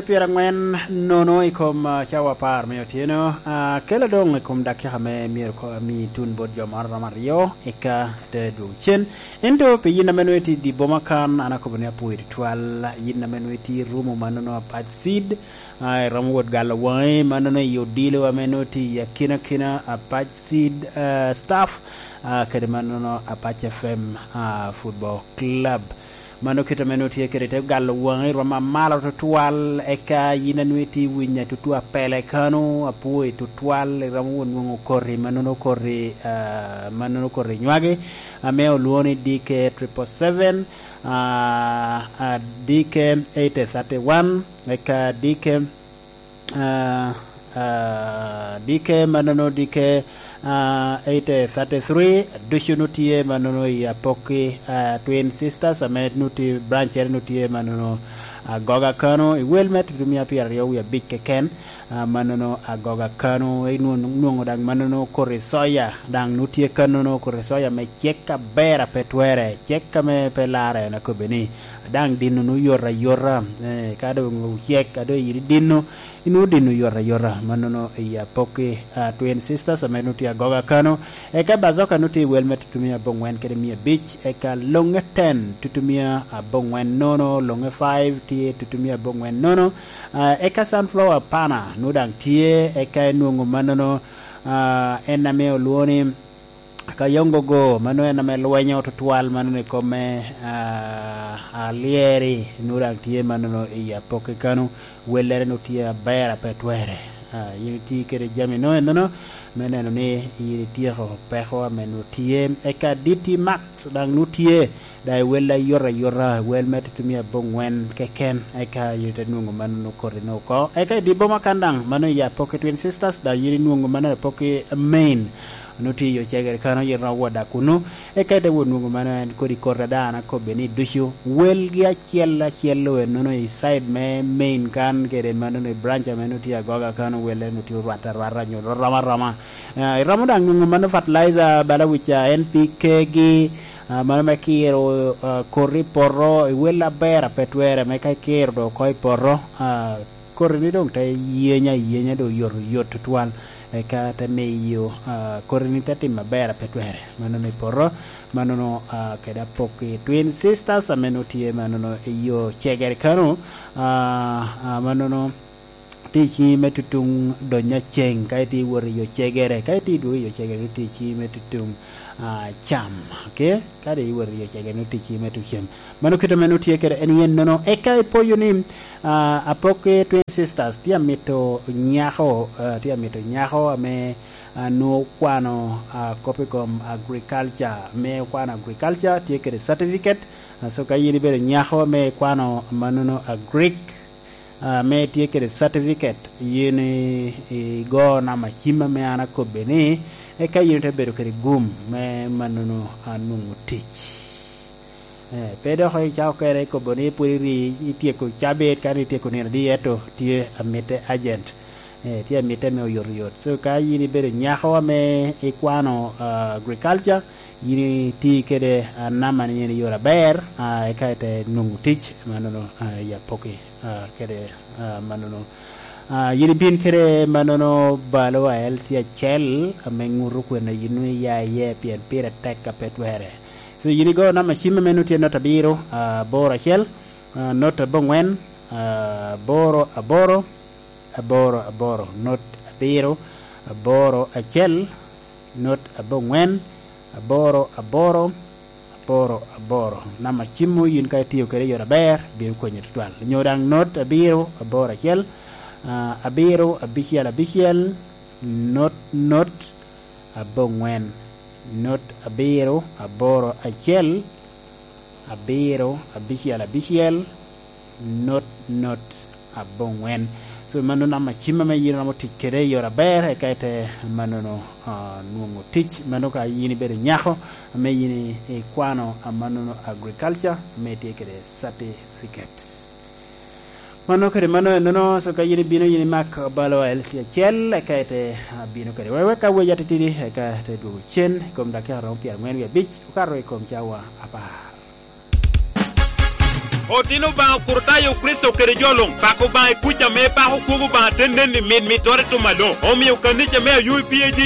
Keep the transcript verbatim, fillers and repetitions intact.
Pyerangwen nono i kom, ah, cawa apar me otyeno, ah, kela doŋ i kom dakika me myero ko-, ami tun bot jo moro romo aryo, eka te dwogo cen. Ento pi yin ame nwoŋo itye i dye boma kan, an akobo ni apwoyo tutwal. Yin ame nwoŋo itye i rumo mannono apac cid, ah, iromo wot galo waŋi mannono i odilo ame nwoŋo tye i akinakina apac cid, ah, staff, ah, kede mannono apac F M, ah, Football Club. Mano kit ame nwoŋo tye kede te galo waŋi romo amalo tutwal, eka yin a nwoŋo itye i winya tutu apele kano, apwoyi tutwal, iromo won nwoŋo koti, mannono koti, ah, mannono koti nywagi, ame olwoŋo ni D K triple seven, ah, ah, D K eight thirty one, eka D K ah, ah, D K mannono D K, ah, eight thirty three, ducu nu tye mannono i Apoki, ah, Twin Sisters, ame nu tye brancere nu tye mannono Agoga kano, i wel me tutumia pyeraryo wie abic keken, ah, mannono Agoga kano, inwo-, nwoŋo daŋ mannono koti soya, daŋ nu tye kannono koti soya me cek aber a pe twere, cek ame pe larre en akobe ni, daŋ dino nu yot ayota, eh, ka doŋ ocek, a doŋ yin idino, inwoŋo dino yot ayota, mannono i Apoki, ah, Twin Sisters, ame nu tye Agoga kano, eka Bazoka nu tye i wel me tutumia aboŋwen kede mia abic, eka Loŋe ten tutumia aboŋwen nono, Loŋe five tye tutumia aboŋwen nono, ah, eka Sunflower Pana nu daŋ tye, eka inwoŋo mannono, ah, en ame olwoŋo ni Kayongo go, mano en ame lwenyo tutwal, mano ni kome, ah, alyeri, nu daŋ tye mannono i Apoki kano, wellere nu tye aber a pe twere. Ah, yin itye kede jami no enono, me neno ni yin ityeko peko ame nu tye. Eka D T Max daŋ nu tye, daŋ i wel ayot ayota, wel me tutumia aboŋwen keken, eka yin ite nwoŋo mannono koti no oko. Eka i dye boma kan daŋ, mano i Apoki Twin Sisters, daŋ yin inwoŋo mano i Apoki Main. Onwoŋo tye i yo cegere kano, yin romo wot daŋ kunnu. Eka ite wot nwoŋo mano en kodi koti a daŋ an akobbe ni ducu. Welgi acel acel-lu ennono i side me Main kan kede mannono i branch ame nwoŋo tye Agoga kano, welle nwoŋo tye orwatte arwata nyo rom aroma. Ah, iromo daŋ nwoŋo mano fertilizer, bala wic, ah, N P K gi, ah, mano me kiro, ah, koti i poto, i wel aber a pe twere, me ka ikiro doŋ oko i poto, ah, koti-ni doŋ te yeny ayenya, doŋ yot, yot tutwal, eka te miyo, ah, koti-ni te timo aber a pe twere. Mannono i poto, mannono, ah, kede Apoki Twin Sisters, ame nwoŋo tye mannono i yo cegere kano, ah, ah, mannono tye i ciŋi me tutuŋ dony aceng, ka itye iwot i yo cegere, ka itye idwogo i yo cegere, nwoŋo tye i ciŋi me tutuŋ, ah, cam, okay? Ka doŋ iwot i yo cegere, nwoŋo tye i ciŋi me tutuŋ cam. Mano kit ame nwoŋo tye kede en yen nono. Eka ipoyo ni, ah, Apoki Twin Sisters tye amito nyako, ah, tye amito nyako ame, ah, nwoŋo okwano, ah, kop i kom agriculture. Ame okwano agriculture, tye kede certificate. Ah, so ka yin ibedo nyako ame ikwano mannono agric, ah, ame itye kede certificate, yin i-, igo namba cim ame an akobbe ni, eka yin ite bedo kede gum me mannono, ah, nwoŋo tic. Eh, pe dok icako kene ikobo ni pwod iri, ityeko cabit, kadi ityeko nino adi, ento tye amitte agent. Eh, tye amitte me oyotoyot. So, ka yin ibedo nyako ame ikwano, ah, agriculture, yin iti kede, ah, namba ni en i yore aber, ah, eka ite nwoŋo tic, mannono, ah, i Apoki, ah, kede, ah, mannono. Ah, yin ibin kede mannono balo a L C acel, ame ŋuto kwene yin nwoŋo iya iye, pien pire tek a pe twere. So, yin igo namba cim ame nwoŋo tye not abiro, ah, aboro acel, ah, not aboŋwen, ah, aboro aboro, aboro aboro, not abiro, aboro acel, not aboŋwen, aboro aboro, aboro aboro. Namba cimmu yin ka itiyo kede i yore aber, bino konyi tutwal. Nyo daŋ not abiro, aboro acel, ah, abiro, abicel, abicel, not, not, aboŋwen, not abiro, aboro acel, abiro, abicel, abicel, not, not, aboŋwen. So, mano namba cim ame yin romo tic kede i yore aber, eka ite mannono, ah, nwoŋo tic. Mano ka yin ibedo nyako, ame yin i-, ikwano amannono agriculture, ame itye kede certificate. Mano kede mano enono, so ka yin ibino, yin imak balo a L C acel, eka ite, ah, bino kede. Wek, wek ka wec atitidi, eka ite dwogo cen, i kom dakika romo pyerangwen wie abic, okato i kom cawa apar. Otino Obaŋa Okricitayo Kricito kede jo luŋ, pako Obaŋa i kuc ame pako kwogo Obaŋa te nen i mit mittoro i tum aloŋ. Omio kanica me Ayubi P A G